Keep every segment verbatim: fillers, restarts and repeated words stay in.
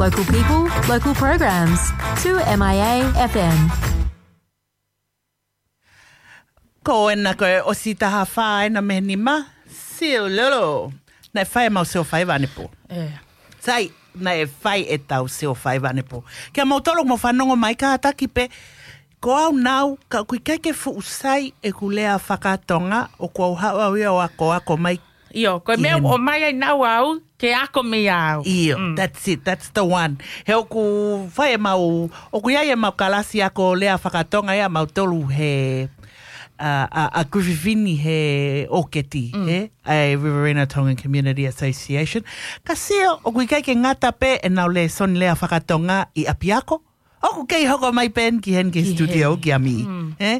Local people, local programs. Two M I A F M. Ko ena ko e ʻosi taha fā ena mei he nima, Siululu. Naʻe fai ʻemau sio faiva ʻanepō. Sai, naʻe fai ʻetau sio faiva ʻanepō. Kia moutolu ʻoku mou fanongo mai, kātaki pē, ko au naʻa ku, ka ʻoku ʻikai ke fuʻu sai ʻeku lea fakatonga, ʻoku ou haʻu au ia ʻo akoako mai. ʻIo, ko e meʻa ʻoku ʻomai ai naʻa ku ke ako mei au. ʻIo, that's it, that's the one. He ʻoku fai ʻemau, ʻoku ʻi ai ʻemau kalasi ako lea fakatonga ia ʻamautolu he, ʻa, ʻa, ʻa Griffith Vini he ʻoketi, he? ʻA e Riverina Tongan Community Association. Ka sio, ʻoku ʻikai ke ngata pē ʻenau lēsoni lea fakatonga ʻi ʻapiako. ʻOku kei hoko mai pē eni ki heni ki he studio kia Mī. Eh?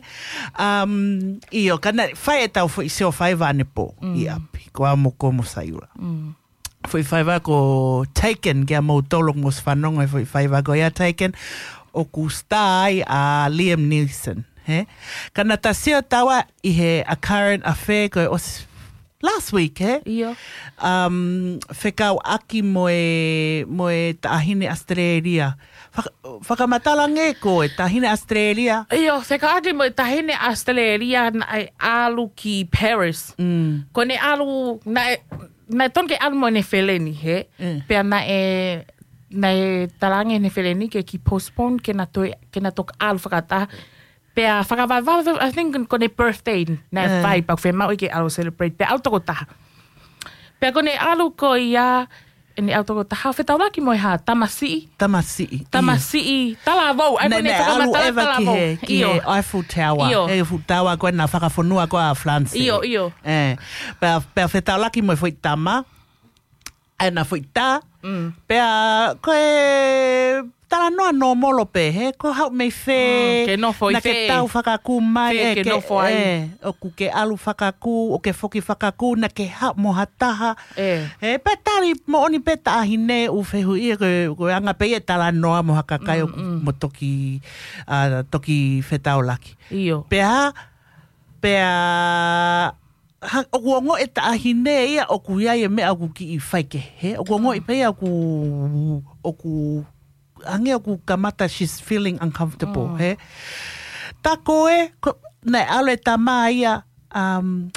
Um, ʻio, ka naʻe fai ʻetau foʻi sio faiva ʻanepō ʻi ʻapi. Ko au mo ko mo Saiula. Foʻi faiva ko Taken, kia moutolu ʻoku mou fanongo he foʻi faiva ko ia Taken. ʻOku star ai ʻa Liam Neeson. He? Ka naʻa ta sio taua ʻi he A Current Affair ko e ʻosi last week, he? ʻIo. Um, fekauʻaki mo e, mo e taʻahine Australia. Faka-, fakamatala ange ko e taʻahine Australia. ʻIo, fekauʻaki mo e taʻahine Australia naʻe ʻalu ki Paris. Ko ʻene ʻalu, naʻe, naʻe tonu ke ʻalu mo ʻene feleni, he? Pea naʻe, naʻe talaange ʻene feleni ke kiʻi postpone ke na toe, ke na toki ʻalu fakataha. Pea fakavavevave, I think ko ʻene birthday naʻe fai, pea ʻoku fiemaʻu ke ʻalu celebrate. Pea ʻalu tokotaha. Pea ko ʻene ʻalu ko ia, ʻene ʻalu tokotaha, fetaulaki mo e hā, tamasiʻi. Tamasiʻi, ʻio. Tamasiʻi, talavou. Ai, ko ʻene fakamatala talavou. Naʻe ʻalu ʻeva ki he, ki he Eiffel Tower. ʻIo. He Eiffel Tower ko ē naʻe fakafonua ko ē ʻa France. ʻIo, ʻio. Eh, pea, pea fetaulaki mo e foʻi tama. ʻAi ʻena foʻi tā. Pea ko e talanoa nōmolo pē, he, ko e haʻu mei fē, ke nofo ʻi fē. Naʻa ke tau fakakū mai, ke nofo ai. ʻOku ke ʻalu fakakū, ʻo ke foki fakakū, naʻa ke haʻu mo ha taha. He, pea tali moʻoni pē taʻahine ʻoku fehuʻia ko e, ko e anga pē ia e talanoa mo ha kakai ʻoku mo toki, ʻa, toki fetaulaki. ʻIo. Pea, pea, ha, ʻoku ongoʻi e taʻahine ia ʻoku ʻi ai e meʻa ʻoku kiʻi faikehe, ʻoku ongoʻi pē ia ʻoku, ʻoku, ange ʻoku kamata she's feeling uncomfortable, he? Tā ko ē, ko, naʻe ʻalu e tama ia, um,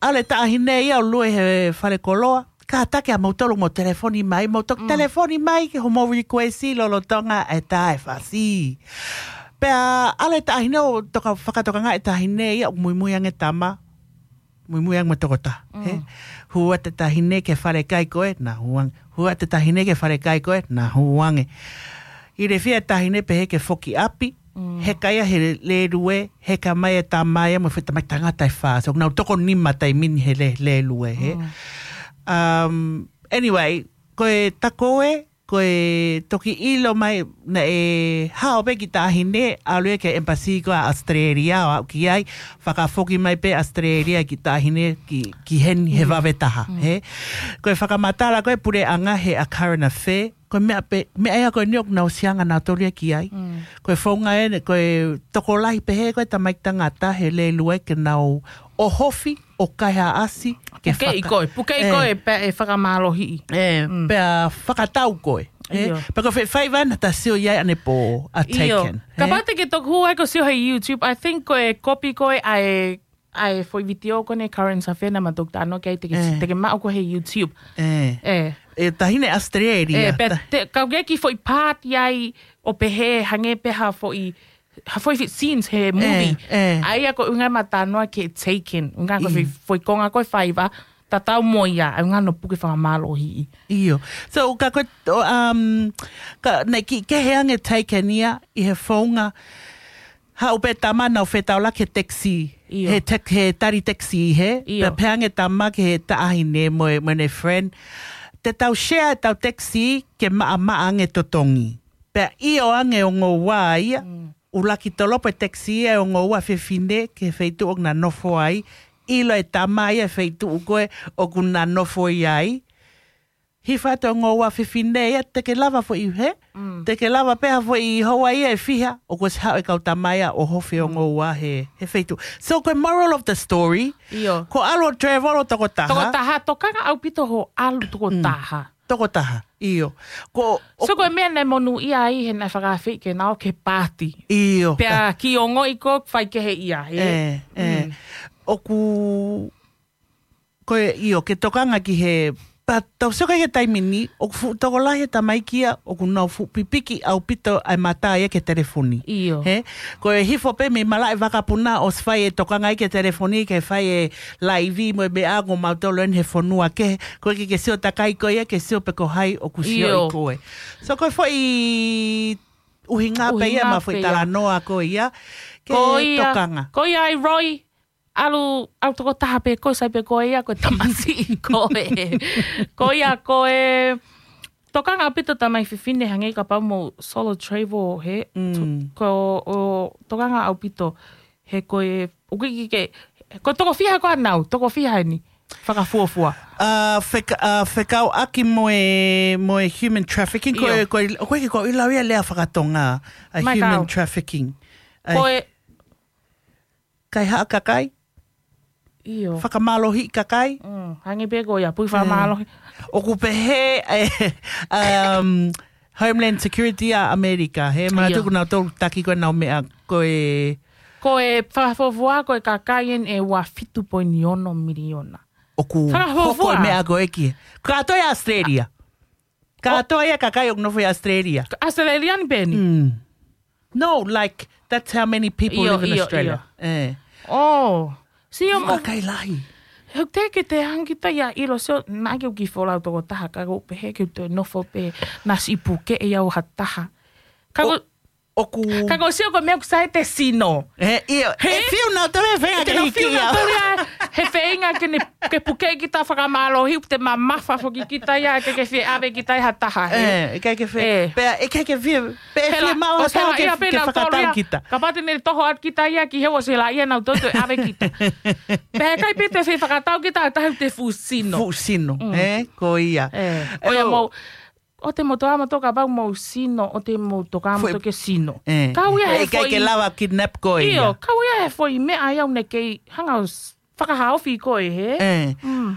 ʻalu e taʻahine ia ʻo lue he falekoloa, kātaki ʻa moutolu mo telefoni mai, mo toki telefoni mai ke homou request lolotonga e tā e fasi. Pea ʻalu e taʻahine ʻo toka, fakatokangaʻi e taʻahine ia ʻoku muimui ange tama. Muimui ange mo tokotaha, he? Hū atu e taʻahine ki he falekai ko ē, naʻa hū ange. Hū atu e taʻahine ki he falekai ko ē, naʻa hū ange. ʻIlifia e taʻahine pehē ke foki ʻapi, heka ia he lēlue, heka mai e tama ia mo e foʻi tamaiki tangata ʻe fā. So, nau toko nima taimi ni he lē-, lēlue, he? Um, anyway, ko e tā ko ē, ko e toki ʻilo mai naʻe hao pē kiʻi taʻahine, ʻalu ia ki he embassy ko ē ʻa Australia, ʻo aʻu ki ai, fakafoki mai pē Australia kiʻi taʻahine ki, ki heni he vave taha, he? Ko e fakamatala ko e puleʻanga he A Current Affair, ko e meʻa pē, meʻa ia ko eni ʻoku nau ʻosi anga nautolu ia ki ai. Ko e founga eni, ko e tokolahi pehē ko e tamaiki tangata he lēlue ke nau ʻohofi, ʻo kaihaʻa ʻasi, ke pukeʻi faka-, koe, pukeʻi koe, pea ʻe fakamālohiʻi. Pea fakatau koe. ʻIo. Pea ko e foʻi faiva naʻa ta sio ʻi ai ʻanepō ʻa Taken. Kapau te ke toki hū ai ko e sio he YouTube, I think ko e kopi ko ē ʻa e, ʻa e foʻi vitiō ko eni Current Affair naʻa ma toki talanoa ki ai te ke, te ke maʻu ko ē he YouTube. E taʻahine Australia. Pea te, ka ʻoku ʻi ai e kiʻi foʻi part ʻi ai ʻo pehē hangē pē ha foʻi ha foʻi scenes he movie. ʻA ia ko e ʻuhinga ʻema talanoa ki he Taken. ʻUhinga ko e foʻi, foʻi konga ko e faiva, tatau mo ia, ʻa e ʻuhinga hono puke fakamālohiʻi. ʻIo. So, ka ko e, um, ka, naʻe kiʻi kehe ange Taken ia, ʻi he founga, haʻu pē tama nau fetaulaki he taxi. He tek-, he tali taxi he. Pea pehē ange tama ki he taʻahine mo e, mo ʻene friend. Te tau share ʻetau taxi ke maʻamaʻa ange totongi. Pea ʻio ange ʻe ongo ua ia, ʻuluaki tolopo e taxi ia ʻe ongo ua fefine ki he feituʻu ʻoku na nofo ai, ʻilo e tama ia e feituʻu ko ē ʻoku na nofo ai. Hifo atu e ongo ua fefine ia, te ke lava foʻi he, te ke lava pē ha foʻi houa ia ʻe fiha, ʻoku ʻosi haʻu e kau tama ia ʻo ʻohofi e ongo ua he, he feituʻu. So ko e moral of the story, ko e ʻalu ʻo travel ʻo tokotaha. Tokotaha, tokanga ʻaupito hoʻo ʻalu tokotaha. Tokotaha, ʻio. Ko, So ko e meʻa naʻe monūʻia ai he naʻe fakaafeʻi ke na ō ki he paati. ʻIo, Pea ka- ki ongoʻi ko fai kehe ia, he? ʻE, ʻe. Mm. ʻOku, ko e, ʻio, ke tokanga ki he, pea tau sio ki he taimi ni, ʻoku fuʻu tokolahi e tamaiki ia, ʻoku nau fuʻu pipiki ʻaupito ʻa e mata ia ki he telefoni. ʻIo. He? Ko e hifo pē mei malaʻe vakapuna ʻosi fai e tokanga ia ki he telefoni, ke fai e laivi mo e meʻa ʻoku mautolu eni he fonua kehe, ko e ke ke sio takai ko ia, ke sio pe ko hai ʻoku sio ʻIo. ʻi koe. So ko e foʻi ʻuhinga pē ia, ʻUhinga ma foʻi pē ia. talanoa ko ia, ke Ko ia, tokanga. ko ia ai Roy, ʻalu, ʻalu tokotaha pē koe, sai pē koe ia, ko e tamasiʻi koe. Ko ia ko e, tokanga ʻaupito tamai fefine hangē kapau mo solo travel he, Mm. ko, ʻo, tokanga ʻaupito he ko e, ʻoku ʻikai ke, ko e toko fiha ko ā nau, toko fiha eni, fakafuofua. ʻA, feka-, ʻa, fekauʻaki mo e, mo e human trafficking, ko e, ʻIo. ko e, ko e, ko e lau ia lea fakatonga, ʻa Mai human kau. trafficking. ʻA Ko e, kaihaʻa kakai, ʻIo. fakamālohiʻi kakai. Mm, hangē pē ko ia, pui ʻE. fakamālohi. ʻOku pehē, ʻe, um, Homeland Security ʻa ʻAmelika, he ma ʻIo. tuku nau tolu taki ko e nau meʻa ko e Ko e fakafuofua, ko e kakai eni ʻe ua fitu poini ono miliona. ʻOku Fakafuofua. hoko e meʻa ko e ki. Kātoa ia Australia. Kātoa ia kakai ʻoku nofo ʻi Australia. Australian pē eni? Mm. No, like, that's how many people ʻIo, live in ʻio, Australia. ʻio. ʻE. Oh. Sio mo Kakai lahi. He te ke te hangita ia ʻilo sio, naʻa ke uki folau tokotaha, ka ko pehē ke te nofo pē, na siʻi puke e au ha taha. Ka ko ʻOku Ka ko sio ko e meʻa ʻoku sai te sino. ʻE, ʻio. He? ʻE fiu nau tole feinga ke Ke nau hiki fiu nau ia. tole ia, he feinga ke ne, ke puke kita fakamālohi, te mamafa foki kita ia, ke ke fie ʻave kita ia ha taha, he? ʻE, ʻikai ke fie, ʻE. pea, ʻikai ke fie, pe He fie la, mau ʻo ha se taha la ke, ia pe ke nau tolu fakatau ia. kita. Kapau te ne toho atu kita ia ki he ʻosi la ia nau toto ʻave kita. Pe he kai pe te fie fakatau kita, tahi te fuʻu sino. Fuʻu sino, Mm. ʻe, ko ia. ʻE, ko ia ʻOku mau, ʻo te mau toa mau toka pau mau sino, ʻo te mau toka mau Foʻi toke sino. ʻE. Kau ia he ʻIkai ke foʻi lava kidnap koe ʻIo, ia. kau ia he foʻi meʻa ia ʻoku ne kei hanga ʻo s-, fakahaofi koe, he? ʻE. Mm.